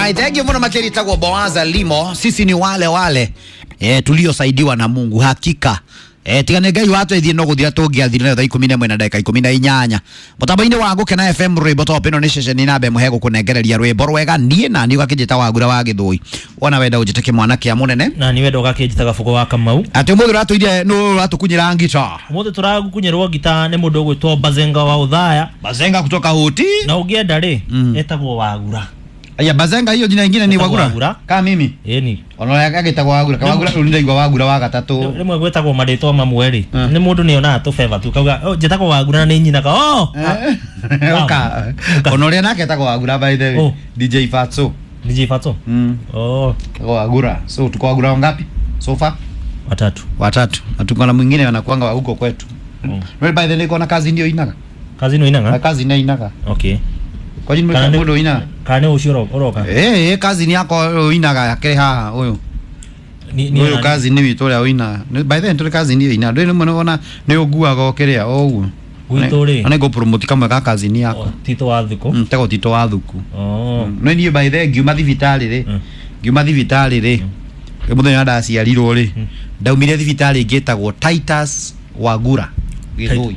Alright, thank you muno makeri tagwo Boaza Limo. Sisi ni wale wale tuliosaidiwa na Mungu hakika. Tigane Ngai watu ithie no guthira tungiathire thaa 11 na ndagika 18 mutambo-ini wa Gukena FM rwimbo top ino ni ceceni na mbe muhe gukunengereria rwimbo rwega nie na ni ugakijita Wagura wa Githui wona wenda unjite kimwana kia munene na ni wenda ugakijita Gabugo wa Kamau ati umuthi uratuirie nu uratukunyira ngita umuthi turagukunyirwo ngita ni mundu ugwitwo Bazenga wa Uthaya. Bazenga kutoka Huti na ungienda ri etagwo Wagura. Aya Bazenga hiyo jina ingine ni Wagura. Kama mimi. Yeni. Ona agitagwo Wagura, ka Wagura ulindaigwa Wagura wa gatatu. Rimwe gwetagwo marĩtwa mamwe ri. Ni mundu ni onaga tu favor tu kauga, "Oh, njĩtagwo Wagura na nĩ nyina ka." Oh. Oka. Ona ũrĩa nake etagwo Wagura by the way. DJ Fatso. DJ Fatso? Oh. Etagwo Wagura. So tuko Wagura wangapi? So far? Watatu. Watatu. Na tuko na mwingine anakuanga wa huko kwetu. Well by the way niko na kazi ndio inaga. Kazi ndio inaga? Kazi ndio inaga. Okay. Kwa nini mundu ina? Kana ucio uroka. Kazi ni yako inaga yakire haha uyu. Ni uyu kazi ni witu uria uina. By the way tuli kazi ni ina. Nduri muno ona ni uguaga ukiria o uguo. Gwitu ri. Ana go promote kamwe ka kazi ni yako. Tito wa Thuku. Tego Tito wa Thuku. Oh. No ni by the way ngiuma thibitari ri. Ngiuma thibitari ri. Muthenya ndaciarirwo ri. Ndaumire thibitari ngitagwo Titus Wagura. Githui.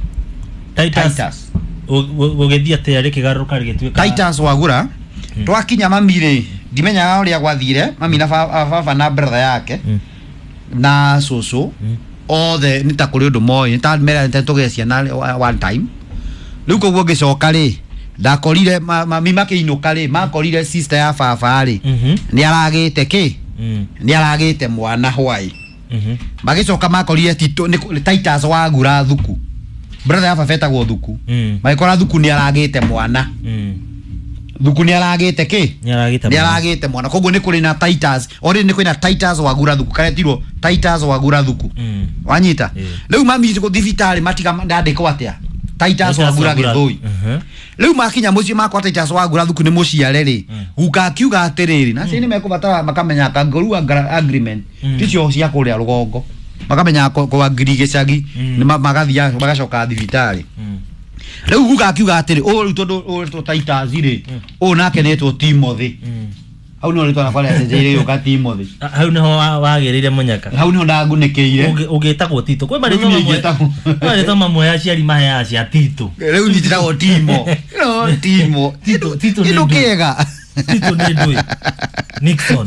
Titus. Gũgĩthiĩ atĩa rĩkĩgarũrũka rĩgĩtuĩka Titus Wagura. Twakinya mami rĩ ndimenyaga ũrĩa gwathire mami na baba na brother yake na cũcũ othe nĩ ta kũrĩ ũndũ moĩ nĩ ta mera nĩ tũgĩe ciana one time rĩu koguo ngĩcoka rĩ ndakorire mami makĩinũka rĩ makorire sister ya baba rĩ nĩ aragĩte kĩ nĩ aragĩte mwana hwai magĩcoka makorire Titus Wagura Thuku brother ya baba etagwo Thuku magĩkora Thuku nĩ aragĩte mwana Thuku nĩ aragĩte kĩ nĩ aragĩte mwana koguo nĩ kũrĩ na Titus already nĩ kwĩna Titus Wagura Thuku karetirwo Titus Wagura Thuku wanyita rĩu mami gũthiĩ thibitarĩ matiga ndandĩkwo atĩa Titus Wagura Githui rĩu makinya mũciĩ makwa Titus Wagura Thuku nĩ mũciare rĩ guka akiuga atĩrĩrĩ na acio nĩ mekũbatara makamenya kangaroo agreement ticio cia kũrĩa rũgongo makamenya kwa ngiri gĩcagi nĩ magathiĩ magacoka thibitarĩ rĩu guka akiuga atĩrĩ ũũ rĩu tondũ ũretwo Titus rĩ ũũ nake nĩetwo Timothy hau nĩho rĩtwa rĩakwa rĩacenjeirie gĩũka Timothy hau nĩho wagĩrĩire mũnyaka hau nĩho ndagunĩkĩire ũgĩtagwo Tito kwĩ marĩtwa mamwe ya aciari maheaga cia Tito rĩu niĩ njĩtagwo Timo no Timo Tito nĩ kĩega Tito nĩ ndũĩ Nixon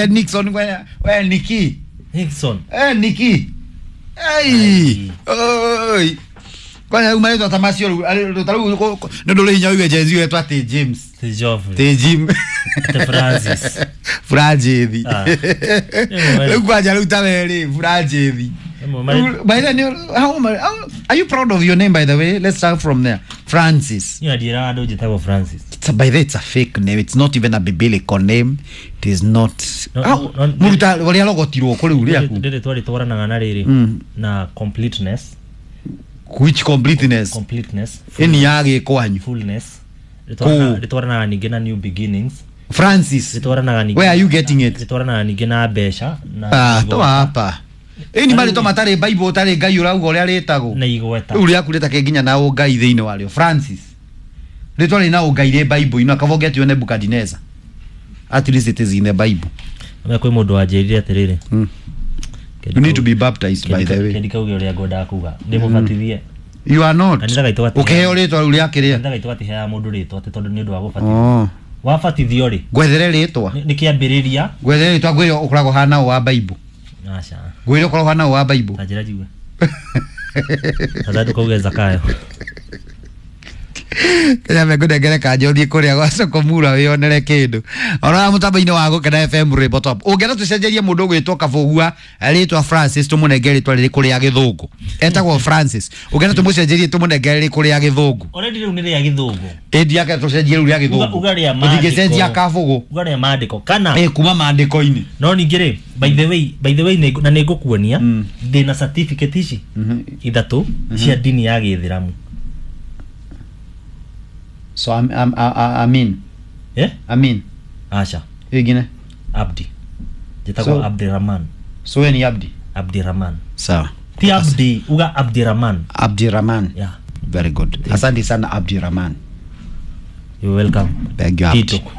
Nixon we Niki Nixon Niki ei oi kwani rĩu marĩtwa ta macio rĩu ta rĩu nĩ ũndũ ũrĩ hinya ũigue Gen Z wetwo atĩ James ti Geoffrey ti Jim ti Francis Franjithi rĩu kwanja rĩu ta we rĩ Franjithi by the way how are you proud of your name by the way? Let's start from there. Francis. Niĩ ndiĩraga andũ njĩtagwo Francis. It's a, by the way, it's a fake name. It's not even a biblical name. It is not. Muruta ũrĩa rogotirwo kũ rĩu rĩaku rĩrĩ twarĩtwaranaga na rĩrĩ na completeness. Which completeness? Completeness. Ĩni ya gĩkwanyu. Fullness. Rĩtwaranaga ningĩ na new beginnings. Francis. Rĩtwaranaga ningĩ. Where are you getting it? Rĩtwaranaga ningĩ na mbeca na. Toa hapa. Ĩni marĩtwa matarĩ Bible ũtarĩ Ngai ũrauga ũrĩa rĩtagwo. Na igweta. Rĩu rĩaku rĩtakĩ nginya na ũngai thĩinĩ warĩo. Francis. Rĩtwa rĩ na ũngai rĩ Bible ino akaba ũngĩatio Nebuchadnezzar. At least it is in the Bible. Na kwĩ mũndũ wanjĩrire atĩrĩrĩ. You need to be baptized by the way. Kendi kauge ũrĩa ngwendaga kuga. Ndĩmũbatithie. You are not. Ũkĩheo rĩtwa rĩu rĩa kĩrĩa? Kanitha gaitũ gatiheaga mũndũ rĩtwa atĩ tondũ nĩ ũndũ wa gũbatithio. Wabatithio rĩ? Ngwethere rĩtwa. Nĩ kĩambĩrĩria. Ngwethere rĩtwa ngwĩre ũkoragwo hana ũũ wa Bible. Aca. Ngwĩre ũkoragwo hana ũũ wa Bible. Ta njĩra njigue. Tata ndũkauge Zakayo. Kenya mekũnengere kanja ũthiĩ kũrĩa gwa Sokomura wĩyonere kĩndũ ona mũtambo-inĩ wa Gũkena FM rwĩmbo top ũngĩenda tũcenjerie mũndũ ũgwĩtwo Kabũgua rĩtwa Francis tũmũnengere rĩtwa rĩrĩkũ rĩa gĩthũngũ etagwo Francis ũngĩenda tũmũcenjerie tũmũnengere rĩrĩkũ rĩa gĩthũngũ already rĩu nĩ rĩa gĩthũngũ ĩndi yake tũcenjie rĩu rĩa gĩthũngũ uga rĩa maandĩko tũtingĩcenjia Kabũgũ uga rĩa maandĩko kana kuma maandĩko-inĩ no ningĩ rĩ by the way na nĩ ngũkuonia ndĩna certificate ici ithatũ cia ndini ya gĩithĩramu. So Amin. Yeah? Amin. Asha. Ingine. Abdi. Jitagwo Abdirahman. So we ni Abdi. Abdirahman. Sawa. Ti Abdi, uga Abdirahman. Abdirahman. Yeah. Very good. Asante sana Abdirahman. You're welcome. Thank you, Abdi. Tito.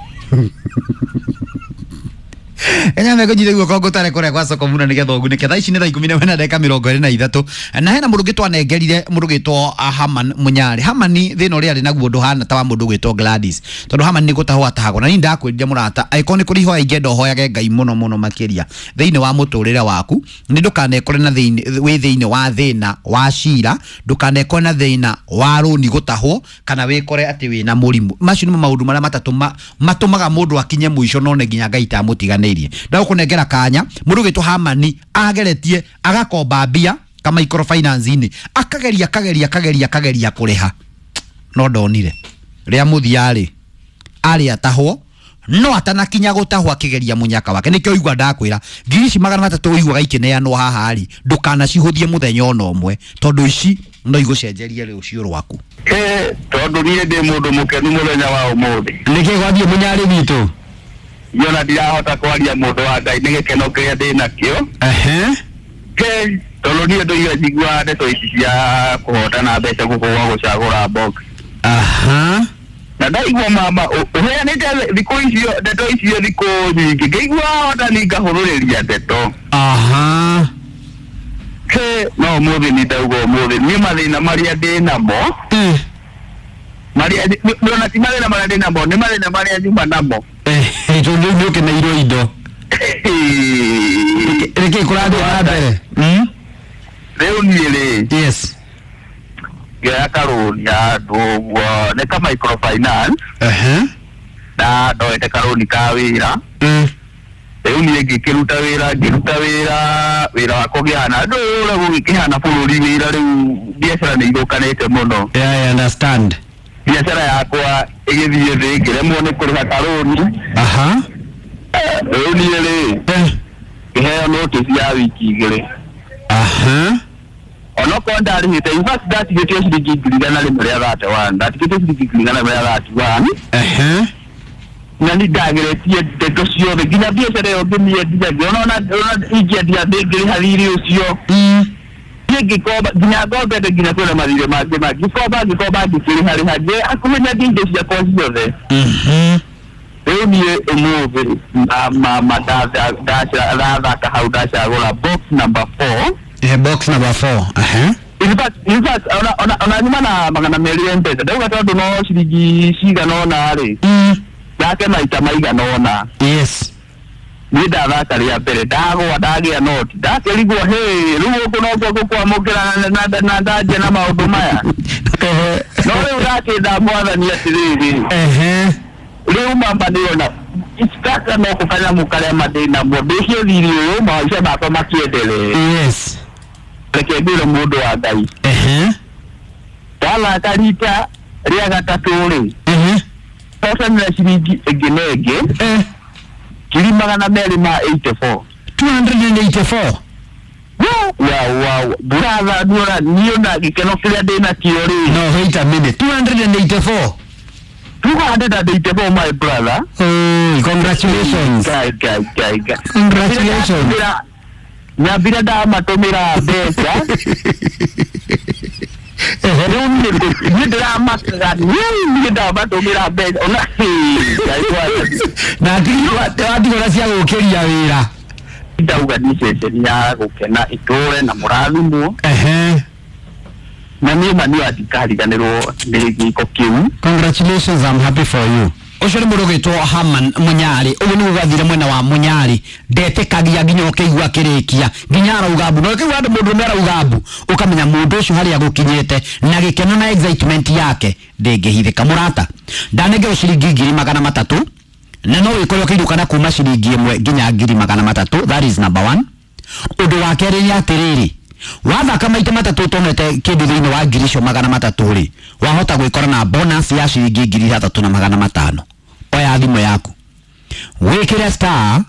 Enya mego jithe guoko ngũtare kũrĩa gwa soko muna nĩgetha ũgunĩke. Thaa ici nĩ thaa 10:23 na hena mũndũ ũngĩ twanengerire, mũndũ ũgĩtwo Haman Mũnyarĩ. Hamani thĩna ũrĩa arĩ naguo ndũhana ta wa mũndũ ũgwĩtwo Gladys, tondũ Haman nĩ gũtahwo atahagwo. Na niĩ ndakwĩrire mũrata, angĩkorwo nĩ kũrĩ ihoya ingĩenda ũhoyage Ngai mũno mũno makĩria thĩinĩ wa mũtũrĩre waku, nĩ ndũkanekore na thĩinĩ wĩ thĩinĩ wa thĩna wa cira, ndũkanekore na thĩna wa rũni gũtahwo, kana wĩkore atĩ wĩna mũrimũ. Macio nĩmo maũndũ marĩa matatũ matũmaga mũndũ akinye mũico none nginya Ngai tamũtiganĩirie. Ndagũkũnengera kanya, mũndũ ũgwĩtwo Hamani ageretie agakomba mbia ka microfinance-inĩ, akageria akageria akageria akageria kũrĩha no ndonire. Rĩa mũthia rĩ, arĩ atahwo, no atanakinya gũtahwo akĩgeria mũnyaka wake. Nĩkĩo igua ndakwĩra ngiri ici 300 ũiguaga ikĩneanwo haha rĩ, ndũkanacihũthie mũthenya ona ũmwe, tondũ ici no igũcenjerie rũciũ rwaku. Tondũ niĩ ndĩ mũndũ mũkenu mũthenya wa ũmũthĩ. Nĩkĩ gwathiĩ Mũnyarĩ witũ? Niona ndirahota kwaria mũndũ wa Ngai nĩ gĩkeno kĩrĩa ndĩ nakĩo. Tondũ niĩ ndũire njiguaga ndeto ici cia kũhotana mbeca gũkũ gwa gũcagũra box. Na ndaigua mama ũheanĩte thikũ icio ndeto icio thikũ nyingĩ, ngĩigua hotani ngahũrũrĩria ndeto. No ũmũthĩ nĩ ndauga ũmũthĩ niĩ mathĩna marĩa ndĩ namo, marĩa ona ti mathĩna marĩa ndĩ namo, nĩ mathĩna marĩa nyuma namo. Tondũ nĩ ũkeneirwo indo. Nĩkĩ kũrathiĩ na mbere? Rĩu niĩ rĩ, Yes. ngĩoya karũni handũ ũguo, nĩ ka microfinance. Na ndoete karũni ka wĩra. Rĩu niĩ ngĩkĩruta wĩra, ngĩruta wĩra, wĩra wakwa ũkĩhana ndũĩ ũrĩa gũgĩkĩhana bũrũri wĩra rĩu biacara nĩ ithũkanĩte mũno. Yeah, I understand. Biacara yakwa ĩgĩthiĩ thĩ, ngĩremwo nĩ kũrĩha karũni. Rĩu niĩ rĩ, ngĩheo notice ya wiki 2. Onokorwo ndarĩhĩte, in fact ndatigĩtio ciringi 131,000, ndatigĩtio ciringi 131,000. Na nĩ ndageretie ndeto ciothe nginya biacara ĩyo ngĩmĩendia, ngĩona ona ingĩendia ndĩngĩrĩha thirĩ ũcio. Niĩ ngĩkomba nginya ngombete nginya kwĩna mathirĩ mangĩ mangĩ, ngĩkomba ngĩkomba ngĩkĩrĩha rĩha, hakuhĩ nyendia indo ciakwa ciothe. Rĩu niĩ ũmũthĩ mama ndathaka hau ndacagũra box number 4. Box number 4. In fact, ona nyuma na 200 M-Pesa ndauga tondũ no ciringi cigana ũna rĩ, ndake maita maigana ũna. Yes. Niĩ ndathaka rĩa mbere ndagwa ndagĩa noti, ndakĩrigwo hĩ rĩu gũkũ nokuo gũkwamũkĩra na ndanjia na maũndũ maya. No rĩu ndakĩnda mwathani atĩrĩrĩ, rĩu mama nĩona gaka no kanyamũ karĩa mandĩ namo ndĩcie thirĩ ũyũ maica makwa makĩendelee. Yes. Reke ngwĩre mũndũ wa Ngai, ndathaka rita rĩa gatatũ rĩ, hotanĩra ciringi ĩngĩ na ĩngĩ 284,000. 284. Wow. Brother, niĩ ona gĩkeno kĩrĩa ndĩ nakĩo rĩ. No, wait a minute. 284. 284, my brother. Oh, congratulations. Guy. Congratulations. Nyambire ndamatũmĩra mbeca. Rĩu niĩ ndĩramakaga, niĩ ndamatũmĩra mbeca. Ona na watigwo na cia gũkĩria wĩra. Ndauga nĩ ceceni ya gũkena itũre na mũrathimwo. Na niĩ ma niĩ ndikariganĩrwo nĩ gĩko kĩu. Congratulations, I'm happy for you. Ũcio nĩ mũndũ ũgwĩtwo Haman Mũnyarĩ. Ũguo nĩguo gwathire mwena wa Mũnyarĩ. Ndetĩkagia nginya ũkĩigua akĩrĩkia, nginya arauga mbu. Na ũkĩigua andũ mũndũ ũmwe arauga mbu, ũkamenya mũndũ ũcio harĩa agũkinyĩte na gĩkeno na excitement yake ndĩngĩhithĩka. Mũrata, ndanengerwo ciringi 300,000 na no wĩkore ũkĩinũka kuma ciringi 1 nginya 300,000. That is number 1. Ũndũ wa kerĩ nĩ atĩrĩrĩ, wathaka maita matatũ ũtonete kĩndũ thĩinĩ wa 300,000 rĩ, wahota gwĩkora na bonus ya ciringi 3,500. Oya thimũ yaku wĩkĩre star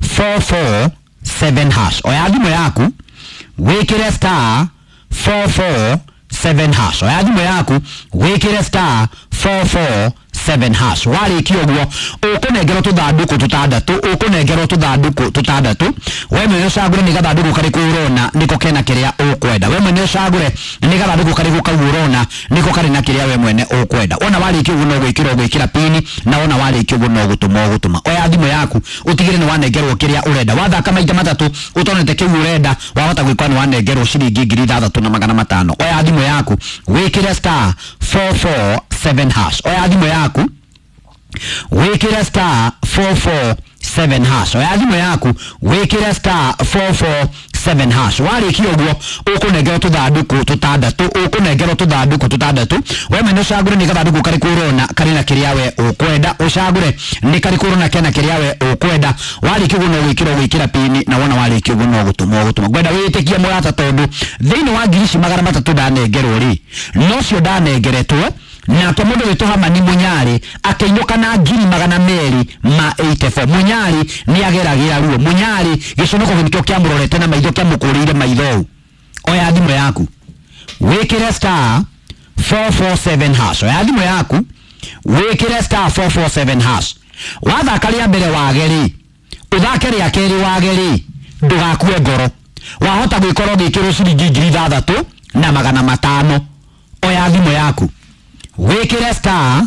447 hash. Oya thimũ yaku wĩkĩre star 447 hash. Oya thimũ yaku wĩkĩre star 447 7 hash. Warĩkia ũguo ũkũnengerwo tũthandũkũ tũtandatũ, ũkũnengerwo tũthandũkũ tũtandatũ. We mwene ũcagũre nĩ gathandũkũ karĩkũ ũrona nĩko kena kĩrĩa ũkwenda. We mwene ũcagũre nĩ gathandũkũ karĩkũ kau ũrona nĩko karĩ na kĩrĩa we mwene ũkwenda. Wona warĩkia ũguo no gwĩkĩra ũgwĩkĩra pini, na wona warĩkia ũguo no gũtũma ũgũtũma. Oya thimũ yaku ũtigĩre nĩ wanengerwo kĩrĩa ũrenda. Wathaka maita matatũ ũtonete kĩu ũrenda, wahota gwĩkora nĩ wanengerwo ciringi 6500. Oya thimũ yaku wĩkĩre star 447 hash. Oya thimũ yaku wĩkĩre star 447 hash. Oya thimũ yaku wĩkĩre star 447 hash. Warĩkia ũguo ũkũnengerwo tũthandũkũ tũtandatũ, ũkũnengerwo tũthandũkũ tũtandatũ. We mwene ũcagũre nĩ gathandũkũ karĩkũ ũrona karĩ na kĩrĩa we ũkwenda, ũcagũre nĩ karĩkũ ũrona kena kĩrĩa we ũkwenda. Warĩkia ũguo no gwĩkĩra ũgwĩkĩra pini, na wona warĩkia ũguo no gũtũma ũgũtũma. Ngwenda wĩtĩkie mũrata, tondũ thĩinĩ wa ngiri ici 300 ndanengerwo rĩ, nocio ndanengeretwo nake mũndũ wĩtwo Hamani Mũnyarĩ akĩinũka na 284,000. Mũnyarĩ nĩ ageragĩra ruo. Mũnyarĩ gĩconoko nĩkĩo kĩamũrorete na maitho, kĩamũkũrĩire maitho ũũ. Oya thimũ yaku wĩkĩre star 447 hash. Oya thimũ yaku wĩkĩre star 447 hash. Wathaka rĩa mbere wage rĩ, ũthake rĩa kerĩ wage rĩ, ndũgakue ngoro. Wahota gwĩkorwo ũgĩkĩrwo ciringi 6500. Oya thimũ yaku wĩkĩre star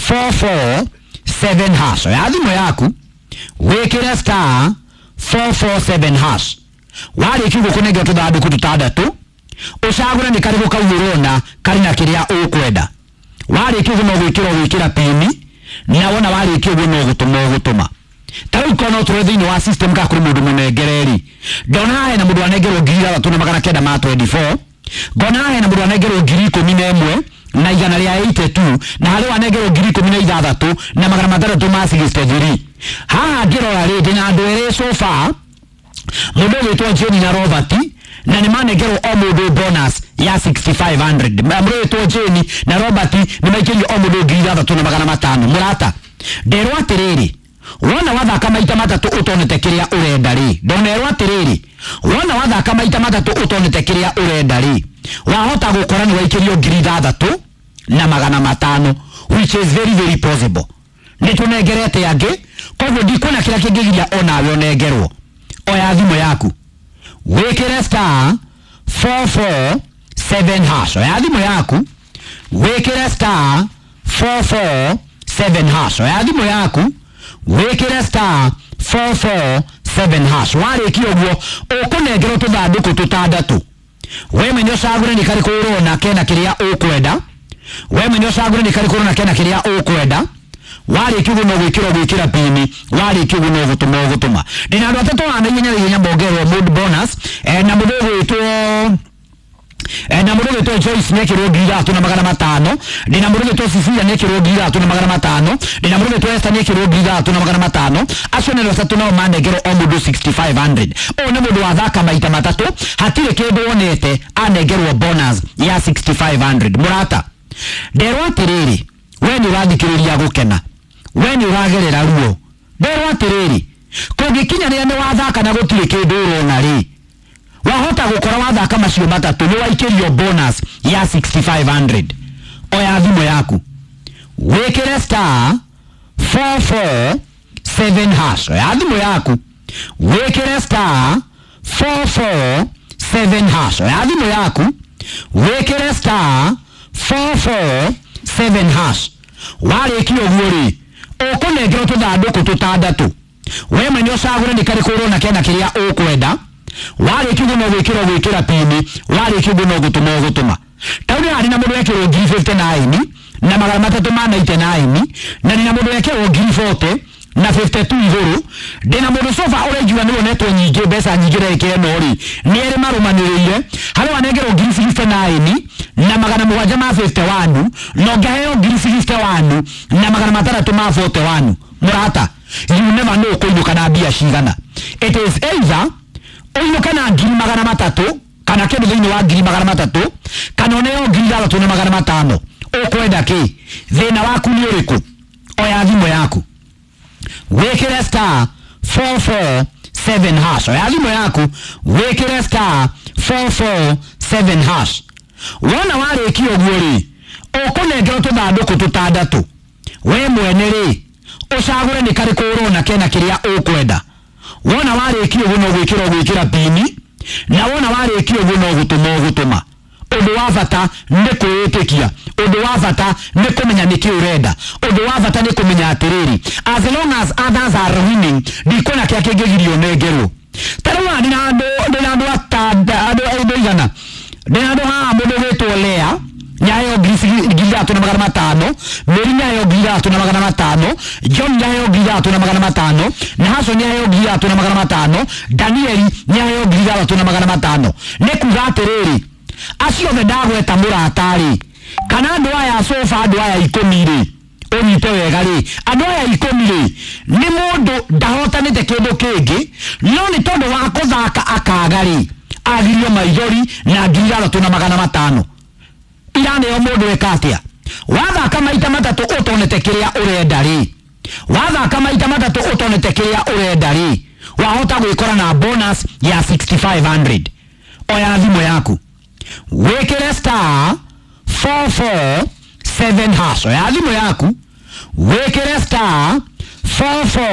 447 hash. Oya thimũ yaku wĩkĩre star 447 hash. Warĩkia ũguo kũnengerwo tũthandũkũ tũtandatũ, ũcagũre nĩ karĩkũ kau ũrona karĩ na kĩrĩa ũkwenda. Warĩkia ũguo no gwĩkĩra ũgwĩkĩra pini, na wona warĩkia ũguo no gũtũma ũgũtũma. Ta rĩu korwo no tũrĩ thĩinĩ wa system ka kũrĩ mũndũ mũnengere rĩ, ndona hena mũndũ anengerwo 6924, ngona hena mũndũ anengerwo 111 na igana rĩa 82, na harĩ wanengerwo 16 na magana matandatũ ma 63. Haha ngĩrora rĩ, ndĩna andũ erĩ so far, mũndũ ũgwĩtwo Jane na Robert, na nĩ manengerwo o mũndũ bonus ya 6500. Mũndũ ũgwĩtwo Jane na Robert nĩ maikĩrio o mũndũ 6500. Mũrata, nderwo atĩrĩrĩ, wona wathaka maita matatũ ũtonete kĩrĩa ũrenda rĩ, ndonerwo atĩrĩrĩ, wona wathaka maita matatũ ũtonete kĩrĩa ũrenda rĩ, wahota gũkora nĩ waikĩrio 6500, which is very very possible. Nĩ tũnengerete angĩ, koguo ndikuona kĩrĩa kĩngĩgiria onawe ũnengerwo. Oya thimũ yaku wĩkĩre star 447 hash. Oya thimũ yaku wĩkĩre star 447 hash. Oya thimũ yaku wĩkĩre star 447 hash. Warĩkia ũguo ũkũnengerwo tũthandũkũ tũtandatũ. We mwene ũcagũre nĩ karĩkũ ũrona kena kĩrĩa ũkwenda. We mwene ũcagũre nĩ karĩkũ ũrona kena kĩrĩa ũkwenda. Warĩkia ũguo no gwĩkĩra ũgwĩkĩra pini, warĩkia ũguo no gũtũma ũgũtũma. Ndĩna andũ atatũ haha na ihenya na ihenya mongerwo mood bonus, na mũndũ ũgwĩtwo na mũndũ ũgwĩtwo Joyce nĩekĩrwo 3500, ndĩna mũndũ ũgwĩtwo Cecilia nĩekĩrwo 3500, ndĩna mũndũ ũgwĩtwo Esther nĩekĩrwo 3500. Acio nĩ atatũ nao manengerwo o mũndũ 6500. Ũyũ nĩ mũndũ wathaka maita matatũ, hatirĩ kĩndũ wonete, anengerwo bonus ya 6500. Mũrata, nderwo atĩrĩrĩ, we nĩ ũrathikĩrĩria gũkena, we nĩ ũragerera ruo. Nderwo atĩrĩrĩ, kũngĩkinya rĩrĩa nĩ wathaka na gũtirĩ kĩndũ ũrona rĩ, wahota gũkora wathaka macio matatũ nĩ waikĩrio bonus ya 6500. Oya thimũ yaku wĩkĩre star 447 hash. Oya thimũ yaku wĩkĩre star 447 hash. Oya thimũ yaku wĩkĩre star 447 hash. Warĩkia ũguo rĩ, ũkũnengerwo tũthandũkũ tũtandatũ. We mwene ũcagũre nĩ karĩkũ ũrona kena kĩrĩa ũkwenda. Warĩkia ũguo no gwĩkĩra ũgwĩkĩra pini, warĩkia ũguo no gũtũma ũgũtũma. Ta rĩu harĩ na mũndũ wekĩrwo 59 na magana matatũ ma 99, na ndĩna mũndũ wekĩrwo 40 na 52 igũrũ. Ndĩna mũndũ sofa ũraigua nĩ wonetwo nyingĩ, mbeca nyingĩ ndagĩka ĩno rĩ, nĩ erĩ marũmanĩrĩire. Harĩ wanengerwo 69 na magana mũgwanja ma 51, na ũngĩheo 61 na magana matandatũ ma 41. Mũrata, you never know kũinũka na mbia cigana. It is either ũinũke na 300,000 kana kĩndũ thĩinĩ wa 300,000, kana ũneo 6500. Ũkwenda kĩ? Thĩna waku nĩ ũrĩkũ? Oya thimũ yaku wĩkĩre star 447 hash. Oya thimũ yaku wĩkĩre star 447 hash. Wona warĩkia ũguo rĩ, ũkũnengerwo tũthandũkũ tũtandatũ. We mwene rĩ, ũcagũre nĩ karĩkũ ũrona kena kĩrĩa ũkwenda. Wona warĩkia ũguo, no gwĩkĩra ũgwĩkĩra pini, na wona warĩkia ũguo, no gũtũma ũgũtũma. Ũndũ wa bata nĩ kwĩĩtĩkia, ũndũ wa bata nĩ kũmenya nĩkĩ ũrenda, ũndũ wa bata nĩ kũmenya atĩrĩrĩ, as long as others are winning, ndikuona kĩrĩa kĩngĩgirio nengerwo. Ta rĩu haha ndĩna andũ andũ andũ 100, ndĩna andũ haha. Mũndũ ũgwĩtwo Lea nĩaheo 3,500, Meri nĩaheo 3,500, John nĩaheo 3,500, Nahaso nĩaheo 3,500, Danieli nĩaheo 6,500. Nĩ kuga atĩrĩrĩ, acio othe ndagweta, mũrata-rĩ, kana andũ aya sofa, andũ aya 10 rĩ, ũnyite wega rĩ, andũ aya 10 rĩ, nĩ mũndũ ndahotanĩte kĩndũ kĩngĩ, no nĩ tondũ wa kũthaka akaga rĩ, agirio maithori na 6,500 iraneo. Mũndũ eka atĩa? Wathaka maita matatũ ũtonete kĩrĩa ũrenda rĩ, wathaka maita matatũ ũtonete kĩrĩa ũrenda rĩ, wahota gwĩkora na bonus ya 6500. Oya thimũ yaku, wĩkĩre *447#. Oya thimũ yaku, wĩkĩre *44